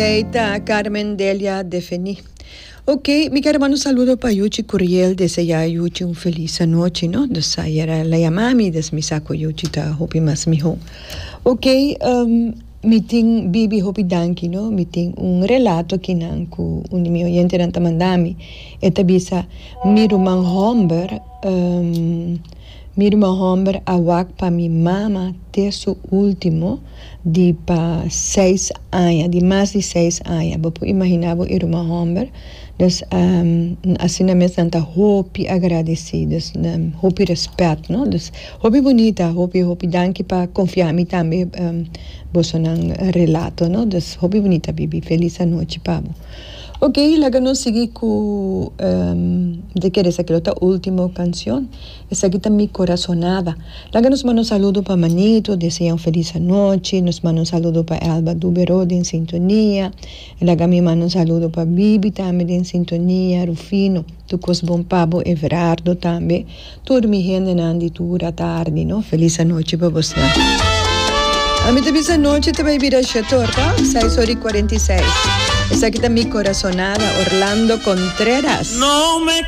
Ei ta Carmen Delia Defení. Ok, mi ker manda un saludo pa Yuchi Curiel, deseá Yuchi un felis anochi, no? Dus ayer el a yama mi, dus mi sa ku Yuchi ta hopi mas mihó. Ok, mi tin Bibi hopi danki, no? Mi tin un relato akinan ku un di mi oyentenan ta manda mi. E ta bisa, Mi ruman hòmber, Mi ruman hòmber a wak pa mi mama te su último di pa seis aña, di mas di seis aña. Bo por imaginá bo e ruman hòmber. Dus asina mes nan ta hopi agradesí, dus hopi rèspèt, no. Dus hopi bunita, hopi hopi danki pa konfia mi tambe bosonan relato, no. Dus hopi bunita Bibi, felis anochi pa bo. Ok, laga nos sigui ku mi ta kere esaki lo ta ultimo kanshon. Esaki ta Mi Corazonada. Laga nos manda un saludo pa Manito, desea un felis anochi. Nos manda un saludo pa Elba Dubero den sintonia. Laga mi manda un saludo pa Bibi tambe den sintonia, Rufino, tur kos bon pa bo, Everardo tambe. Tur mi hendenan di tur atardi no. Felis anochi pa bosnan. Ami ta bisa nochi ta bai bira shetor ta seis ora y cuarenta y seis. Esaki ta Mi Corazonada, Orlando Contreras. No me.